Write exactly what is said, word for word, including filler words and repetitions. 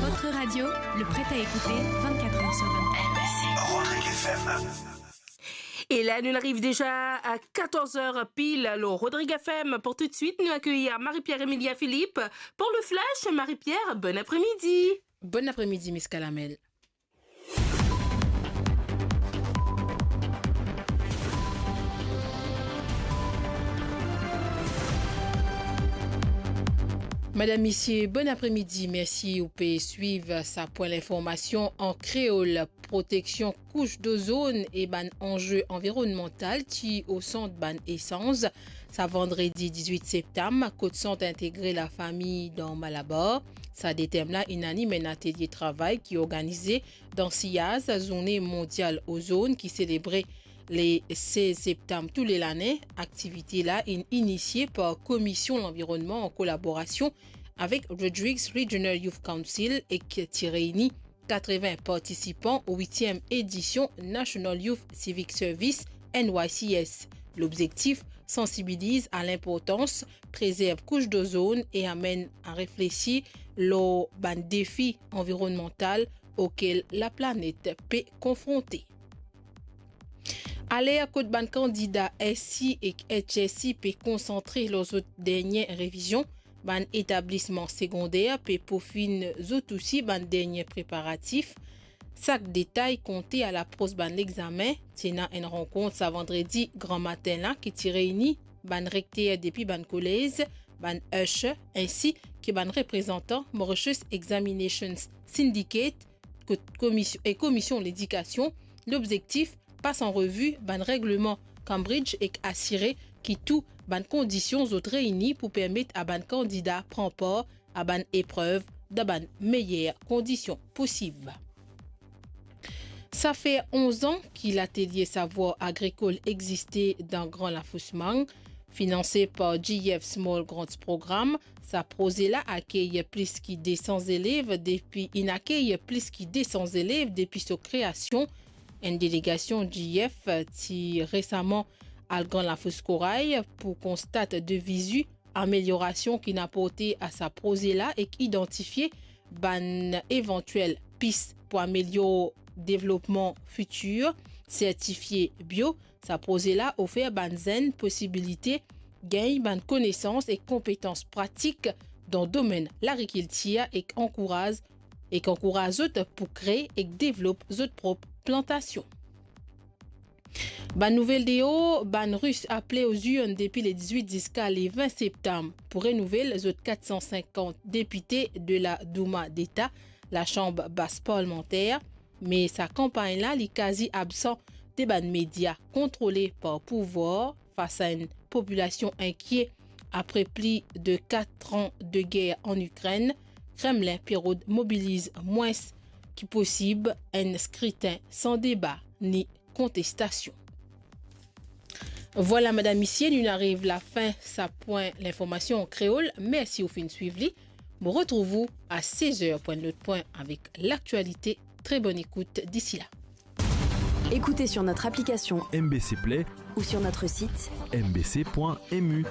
Votre radio, le prêt à écouter, vingt-quatre heures sur vingt-quatre. Rodrigue F M. E la, nou ariv deza a katorz er pil. Alors, Rodrigue F M, pour tout de suite, nou akeyir Marie-Pierre Emilia Philippe pour le Flash. Marie-Pierre, bon apremidi. Bon apremidi, Miss Kalamel. Madam, misie, bon apremidi. Mersi ou pe swiv sa pwin linformasion an kreol. Proteksion kous dozonn e bann anze anvironmantal ti o sant bann esanz sa vandredi diz-wit septam, kot Sant Integre Lafami dan Malabar. Sa de tem la inn anim enn atelie travay ki organize dan siyaz Zourne Mondial Ozonn ki selebre le sez septam tou le lane. Aktivite la inn inisie par Komision Lanvironnman an kolaborasion avek Rodrigues Regional Youth Council ek ti reyni katreven partisipan o witiem edision National Youth Civic Service, N Y C S. Lobzektif, sansibiliz a linportans prezerv kous dozonn e amenn a reflesi lor bann defi anvironnmantal okel laplanet pe konfronte. Aler kot bann kandida S C ek H S C pe konsantre lor zot dernie revizion, bann etablisman segonder pe profinn zot osi bann dernie preparatif. Sak detay konte a lapros bann lexame. Ti ena enn rankont sa vandredi gramatin la ki ti reyni bann rekter depi bann kolez, bann usher, ensi ki bann reprezantan Mauritius Examinations Syndicate, kot komision, e Komision Ledikasion. Lobzektif, pas an revi bann regleman Cambridge ek asire ki tou bann kondision zot reyni pou permet a bann kandida pran par a bann eprev dan bann meyer kondision posib. Sa fer onz an ki latelie savwar agrikol existe dan Gran Lafous Mang, finanse par G F Small Grants Program. Sa proze la akey plis ki de san zelev depi, inn akey plis ki de san zelev depi so kreasion. Enn delegasion G F ti resaman al Gran Lafous Koray pou konstat de vizi ameliorasion ki'nn aporte a sa proze la ek idantifie bann evantiel pis pou amelior devlopman fitir. Sertifie bio, sa proze la ofer bann zenn posibilite gagn bann konesans ek konpetans pratik dan domenn lagrikiltir ek ankouraz, ek ankouraz zot pou kree ek devlop zot prop plantasion. Bann nouvel deor, bann Ris aple o zirn depi le diz-wit ziska le vin septam pou renouvel zot kat san sinkant depite de la Douma Deta, Lasanble Bas Parlmanter. Me sa kanpagn la, li kazi absan de bann media kontrole par pouvwar fas a enn popilasion inkie apre pli de kat an de ger an Ikrenn. Kremlin pe rod mobiliz mwins ki posib enn skritin san deba ni kontestasion. Vwala, madam, misie, nou ariv lafin sa pwin linformasion an kreol. Mersi ou finn swiv li. Mo retrouv ou a sez er pou enn lot pwin avek laktialite. Très bonne écoute d'ici là. Écoutez sur notre application M B C Play ou sur notre site M B C point M U.